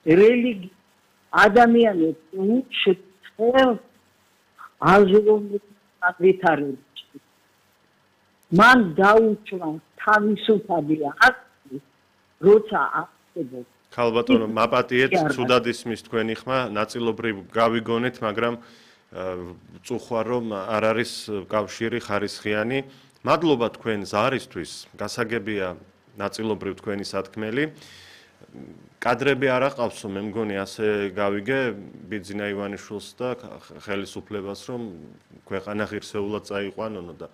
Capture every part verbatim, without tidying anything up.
რელიგია ადამიანებს უჩვენებს აზროვნების ვითარებაში. მან დაუჭრა თავისუფალი აქტი, როცა აღწევს. ქალბატონო, მაპატიეთ, ცუდად ისმის თქვენი ხმა, ნაწილობრივ გავიგონეთ, მაგრამ წუხვა რომ არ არის კავშირი ხარისხიანი. მადლობა თქვენ ზარისთვის, გასაგებია ნაწილობრივ თქვენი სათქმელი. კადრები არ აყავსო, მე მგონი ასე გავიგე ბიძინა ივანიშვილს და ხელისუფლებას, რომ ქვეყანა ღირსეულად წაიყვანონო და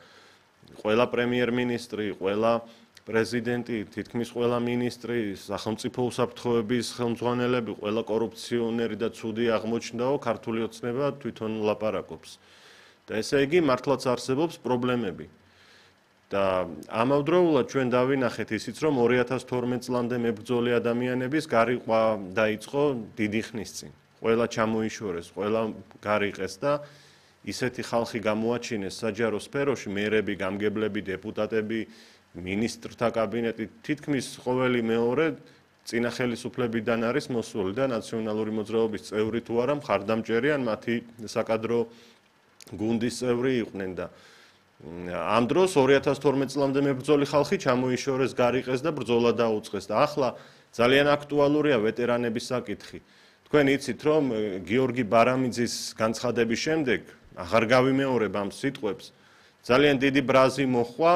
ყველა პრემიერ-მინისტრი, ყველა პრეზიდენტი, თითქმის ყველა მინისტრი, სახელმწიფო უსაფრთხოების ხელმძღვანელები, ყველა კორუფციონერი და ცუდი აღმოჩნდაო, ქართული ოცნება თვითონ ლაპარაკობს. და ესე იგი მართლაც არსებობს პრობლემები. და ამავდროულად ჩვენ დავინახეთ ისიც, რომ ორი ათას თორმეტ წლამდე მებრძოლი ადამიანების გარიყვა დაიწყო დიდი ხნის წინ. ყველა ჩამოიშორეს, ყველა გარიყეს და ისეთი ხალხი გამოაჩინეს საჯარო სფეროში, მერები, გამგებლები, დეპუტატები, მინისტრთა კაბინეტი, თითქმის ყოველი მეორე წინა ხელისუფლებიდან არის მოსული და ნაციონალური მოძრაობის წევრი თუ არა მხარდამჭერი ან მათი საკადრო გუნდის წევრი იყვნენ და ამ დროს ორი ათას თორმეტ წლამდე მებრძოლი ხალხი ჩამოიშორეს, გარიყეს და ბრძოლა დაუწყეს და ახლა ძალიან აქტუალურია ვეტერანების საკითხი. თქვენ იცით, რომ გიორგი ბარამიძის განცხადების შემდეგ აღარ გავიმეორებ ამ სიტყვებს, ძალიან დიდი ბრაზი მოხვა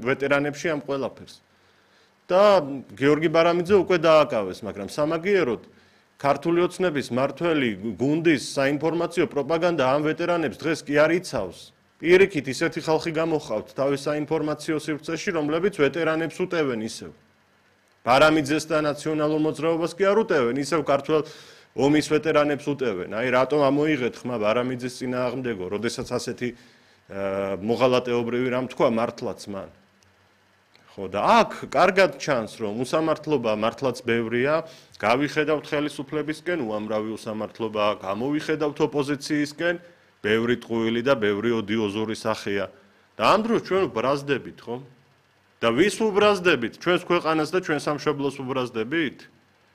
ვეტერანებში ამ ყველაფერს. და გიორგი ბარამიძე უკვე დააკავეს, მაგრამ სამაგიეროდ ქართული ოცნების მართველი გუნდის საინფორმაციო პროპაგანდა ამ ვეტერანებს დღეს კი არ იცავს. პირიქით ისეთი ხალხი გამოხავთ თავის საინფორმაციო სივრცეში, რომლებიც ვეტერანებს უტევენ ისევ. ბარამიძეს და ნაციონალურ მოძრაობას კი არ უტევენ, ისევ ქართველ ომის ვეტერანებს უტევენ. აი რატომ ამოიღეთ ხმა ბარამიძის წინააღმდეგო, როდესაც ასეთი მოღალატეობრივი რამ თქვა მართლაც მან. ხო და აქ კარგად ჩანს, რომ უსამართლობა მართლაც ბევრია, გავიხედავთ ხელისუფლებისკენ უამრავი უსამართლობა, გამოვიხედავთ ოპოზიციისკენ, ბევრი ტყუილი და ბევრი ოდიოზური სახეა. და ამ დროს ჩვენ ვბრაზდებით, ხო? და ვის ვუბრაზდებით? ჩვენს ქვეყანას და ჩვენ სამშობლოს ვუბრაზდებით?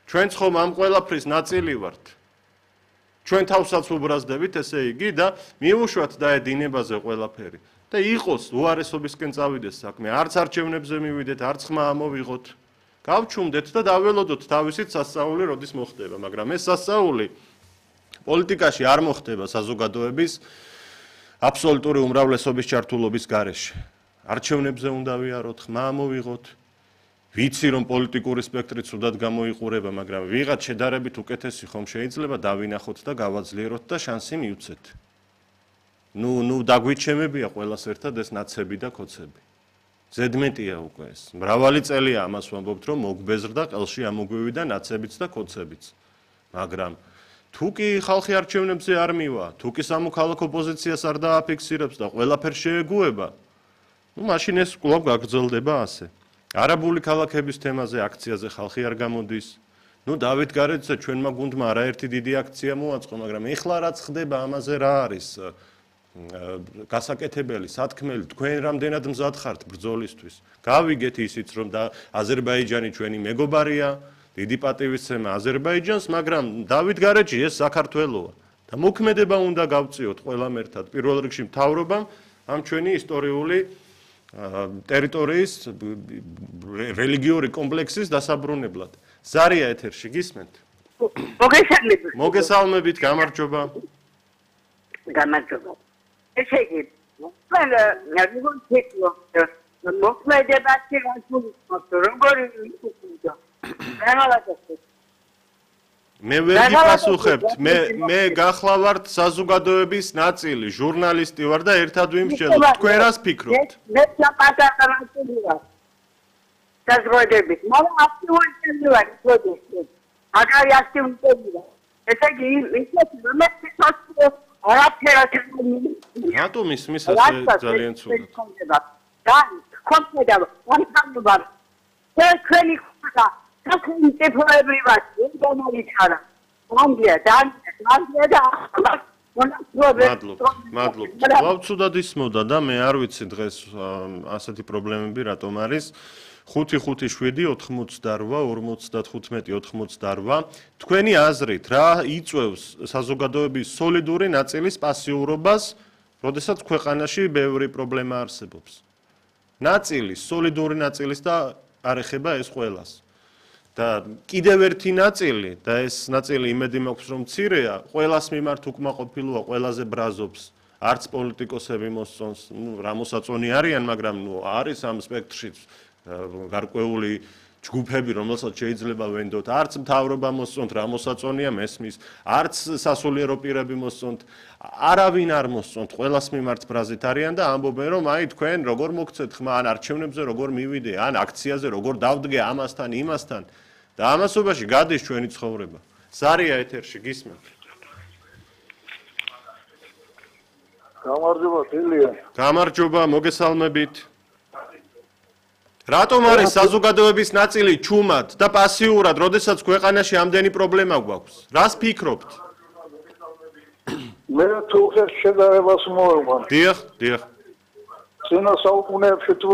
ჩვენც ხომ ამ ყველაფრის ნაწილი ვართ. ჩვენ თავსაც ვუბრაზდებით, ესე იგი და მიუშვათ დაედინებაზე ყველაფერი. და იყოს უარესობისკენ წავიდეს საქმე, არც არჩევნებზე მივიდეთ, არც ხმა ამოვიღოთ. გავჩუმდეთ და დაველოდოთ თავისით სასწაული როდის მოხდება, მაგრამ ეს სასწაული პოლიტიკაში არ მოხდება საზოგადოების აბსოლუტური უმრავლესობის ჩართულობის გარეშე. არჩევნებზე უნდა ვიაროთ, ხმა ამოვიღოთ. ვიცი რომ პოლიტიკური სპექტრი ცუდად გამოიყურება, მაგრამ ვიღაც შედარებით უკეთესი ხომ შეიძლება დავინახოთ და გავაძლიეროთ და შანსი მივცეთ. ნუ ნუ დაგვიჩემებია ყველას ერთად ეს ნაცები და კოცები. ზედმეტია უკვე ეს. მრავალი წელია ამას ვამბობთ, რომ მოგბეზრდა ყელში ამოგვივიდა ნაცებიც და კოცებიც. მაგრამ თუ კი ხალხი არჩევნებზე არ მივა, თუ კი სამოქალაქო პოზიციას არ დააფიქსირებს და ყველაფერს შეეგუება, ნუ მაშინ ეს კვლავ გაგრძელდება ასე. არაბული ქალაქების თემაზე აქციაზე ხალხი არ გამოდის. ნუ დავით გარეძე ჩვენმა გუნდმა არაერთი დიდი აქცია მოაწყო, მაგრამ ეხლა რაც ხდება ამაზე რა არის გასაკეთებელი, სათქმელი, თქვენ რამდენად მზად ხართ ბრძოლისთვის. გავიგეთ ისიც რომ აზერბაიჯანი ჩვენი მეგობარია, დიდი პატივისცემა აზერბაიჯანს, მაგრამ დავით გარეჯი ეს საქართველოა და მოქმედება უნდა გავწიოთ ყველამ ერთად. პირველ რიგში მთავრობამ ამ ჩვენი ისტორიული ტერიტორიის რელიგიური კომპლექსის დასაბრუნებლად. ზარია ეთერში გისმენთ? მოგესალმებით. მოგესალმებით, გამარჯობა. გამარჯობა. ესე იგი, მე როგორ ვიქნო? მოქმედებაში როგორი ვიქნო? მე ვერ გიპასუხებთ, მე მე გახლავართ საზოგადოების ნაწილი, ჟურნალისტი ვარ და ერთად ვიმსჯელობ. თქვენ რას ფიქრობთ? მე პატარა ნაწილი ვარ. საზოგადოების, მაგრამ აქტიური ვარ, პროდუქტი. აგარი აქტიური ვარ. ესე იგი, ისეთი რომ მე სოციალ არაფერად რატომ ისმის ასე ძალიან ცუდად? და კონკრეტულად ვარ. თქვენი ხმა თქვენი ტეფოები ვარ, ინდონეზია ხარა. მანდია და მანდია და მადლობა, მადლობა. ვავცუდად ისმოდა და მე არ ვიცი დღეს ასეთი პრობლემები რატომ არის. ხუთი ხუთი შვიდი ოთხმოცდაორვა ორმოცდათხუთმეტი ოთხმოცდაორვა თქვენი აზრით რა იწვევს საზოგადოების სოლიდური ნაწილის პასიურობას, როდესაც ქვეყანაში ბევრი პრობლემა არსებობს. ნაწილის, სოლიდური ნაწილის და არ ეხება ეს ყველას. და კიდევ ერთი ნაწილი და ეს ნაწილი იმედი მაქვს რომ მცირეა, ყველას მიმართ უკმაყოფილოა, ყველაზე ბრაზობს. არც პოლიტიკოსები მოსწონს, ნუ რა მოსაწონი არიან, მაგრამ ნუ არის ამ სპექტრში გარკვეული ჯგუფები, რომელსაც შეიძლება ვენდოთ, არც მთავრობა მოსწონთ, რა მოსაწონია მესმის, არც სასულიერო პირები მოსწონთ, არავინ არ მოსწონთ, ყველას მიმართ ბრაზით არიან და ამბობენ, რომ აი თქვენ როგორ მოგცეთ ხმა, ან არჩევნებზე როგორ მივიდე, ან აქციაზე როგორ დავდგე ამასთან, იმასთან და ამასობაში გადის ჩვენი ცხოვრება. ზარია ეთერში გისმენთ. გამარჯობა, თილია. გამარჯობა, მოგესალმებით. რატომ არის საზოგადოების ნაწილი ჩუმად და პასიურად, როდესაც ქვეყანაში ამდენი პრობლემა გვაქვს? რას ფიქრობთ? მე თუ ხერ შედარებას მოვევარ. დიახ, დიახ. წინა საუკუნეებში თუ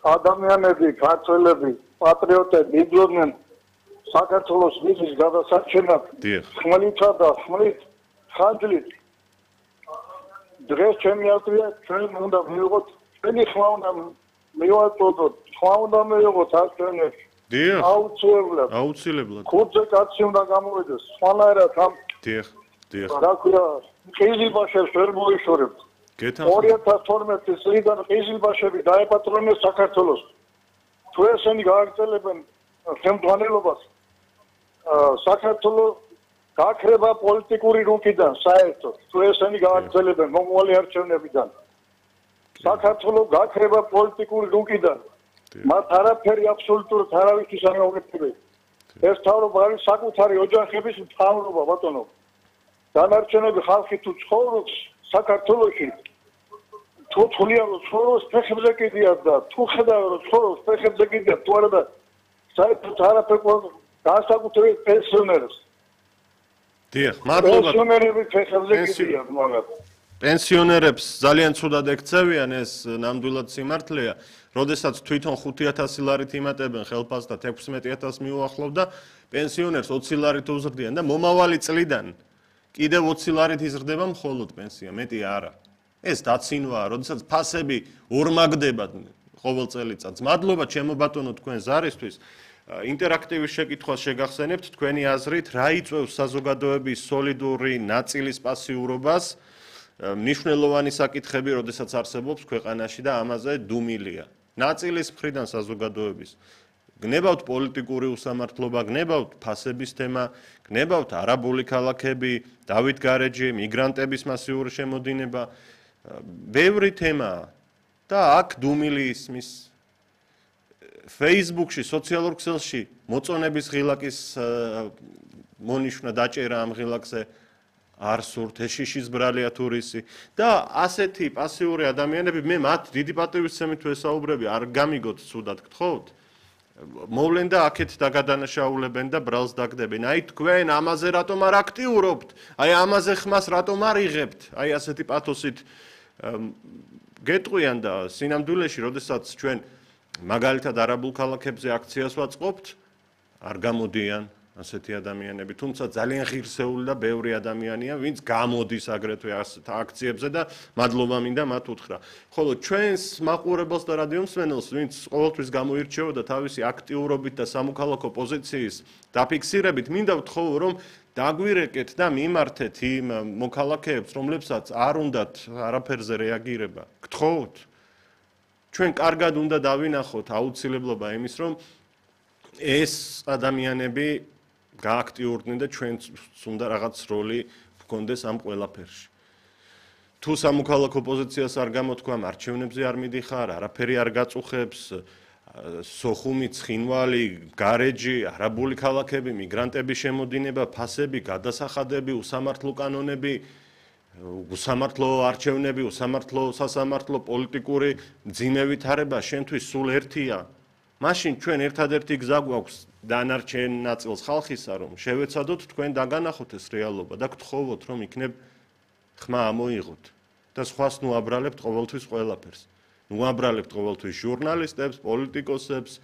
ადამიანები, ქართველები, პატრიოტები იბრძოდნენ საქართველოს მიწის გადასარჩენად, ხმლითა და ხმლით, ხანჯლით. დღეს ჩემი აზრია, ჩვენ უნდა მივიღოთ, ჩვენი ხმა უნდა მივაწოდოთ, ხმა უნდა მივიღოთ აქციონერში. დიახ. აუცილებლად. აუცილებლად. ხუთზე კაცი უნდა გამოვიდეს, სხვანაირად ამ დიახ, დიახ. რა ქვია, ყიზილბაშებს ვერ მოიშორებთ. ორი ათას თორმეტი წლიდან ყიზილბაშები დაეპატრონეს საქართველოს. თუ ესენი გააგრძელებენ ხელმძღვანელობას, საქართველოს გაქრება პოლიტიკური რუკიდან საერთოდ. თუ ესენი გააგრძელებენ მომავალი არჩევნებიდან, საქართველოს გაქრება პოლიტიკური რუკიდან. მათ არაფერი აბსოლუტურად არავისთვის არ გაუკეთებია. ეს თავრობა არის საკუთარი ოჯახების მთავრობა, ბატონო. დანარჩენები ხალხი თუ ცხოვრობს საქართველოში, თუ თვლიან რომ ცხოვრობს ფეხებზე კიდიათ და თუ ხედავენ რომ ცხოვრობს ფეხებზე კიდიათ, თუ არა და საერთოდ არაფერი განსაკუთრებით პენსიონერებს. დიახ, მადლობა. პენსიონერები ფეხებზე კიდიათ, მაგათ. პენსიონერებს ძალიან ცუდად ექცევიან, ეს ნამდვილად სიმართლეა. როდესაც თვითონ ხუთი ათასი ლარით იმატებენ ხელფასს და ექვსმეტი ათასს მიუახლოვ და პენსიონერს ოცი ლარით უზრდიან და მომავალი წლიდან კიდევ ოცი ლარით იზრდება მხოლოდ პენსია, მეტი არა. ეს დაცინვაა, როდესაც ფასები ორმაგდებათ ყოველ წელიწადს. მადლობა ჩემო ბატონო თქვენ ზარისთვის. ინტერაქტივის შეკითხვას შეგახსენებთ თქვენი აზრით, რა იწვევს საზოგადოების სოლიდური ნაწილის პასიურობას? მნიშვნელოვანი საკითხები, როდესაც არსებობს ქვეყანაში და ამაზე დუმილია. ნაწილის მხრიდან საზოგადოების. გნებავთ პოლიტიკური უსამართლობა, გნებავთ ფასების თემა, გნებავთ არაბული ქალაქები, დავით გარეჯი, მიგრანტების მასიური შემოდინება, ბევრი თემაა და აქ დუმილი ისმის. Facebook-ში, სოციალურ ქსელში მოწონების ღილაკის მონიშნა დაჭერა ამ ღილაკზე არ სურთ, ეშიშის ბრალია თურისი და ასეთი პასიური ადამიანები, მე მათ დიდი პატივისცემით ვესაუბრები, არ გამიგოთ ცუდად გთხოვთ. მოვლენ და აქეთ დაგადანაშაულებენ და ბრალს დაგდებენ. აი თქვენ ამაზე რატომ არ აქტიურობთ? აი ამაზე ხმას რატომ არ იღებთ? აი ასეთი პათოსით გეტყვიან და სინამდვილეში, როდესაც ჩვენ მაგალითად არაბულ ქალაქებზე აქციას ვაწყობთ, არ გამოდიან ასეთი ადამიანები, თუმცა ძალიან ღირსეული და ბევრი ადამიანია, ვინც გამოდის აგრეთვე ასეთ აქციებზე და მადლობა მინდა მათ უთხრა. ხოლო ჩვენს მაყურებელს და რადიომსმენელს, ვინც ყოველთვის გამოირჩეოდა თავისი აქტიურობით და სამოქალაქო პოზიციის დაფიქსირებით, მინდა ვთხოვო, რომ დაგვირეკეთ და მიმართეთ იმ მოქალაქეებს, რომლებსაც არ უნდათ არაფერზე რეაგირება. გთხოვთ, ჩვენ კარგად უნდა დავინახოთ აუცილებლობა იმის, რომ ეს ადამიანები გააქტიურდნენ და ჩვენც უნდა რაღაც როლი გქონდეს ამ ყველაფერში. თუ სამოქალაქო პოზიციას არ გამოთქვამ, არჩევნებზე არ მიდიხარ, არაფერი არ გაწუხებს, სოხუმი, ცხინვალი, გარეჯი, არაბული ქალაქები, მიგრანტების შემოდინება, ფასები, გადასახადები, უსამართლო კანონები, უსამართლო არჩევნები, უსამართლო სასამართლო პოლიტიკური მძიმე ვითარება შენთვის სულ ერთია. მაშინ ჩვენ ერთადერთი გზა გვაქვს დანარჩენ ნაწილს ხალხისა, რომ შევეცადოთ თქვენ დაგანახოთ ეს რეალობა და გთხოვოთ, რომ იქნებ ხმა ამოიღოთ და სხვას ნუ აბრალებთ ყოველთვის ყველაფერს. უამბრალებთ ყოველთვის ჟურნალისტებს, პოლიტიკოსებს,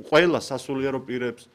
ყველა სასულიერო პირებს.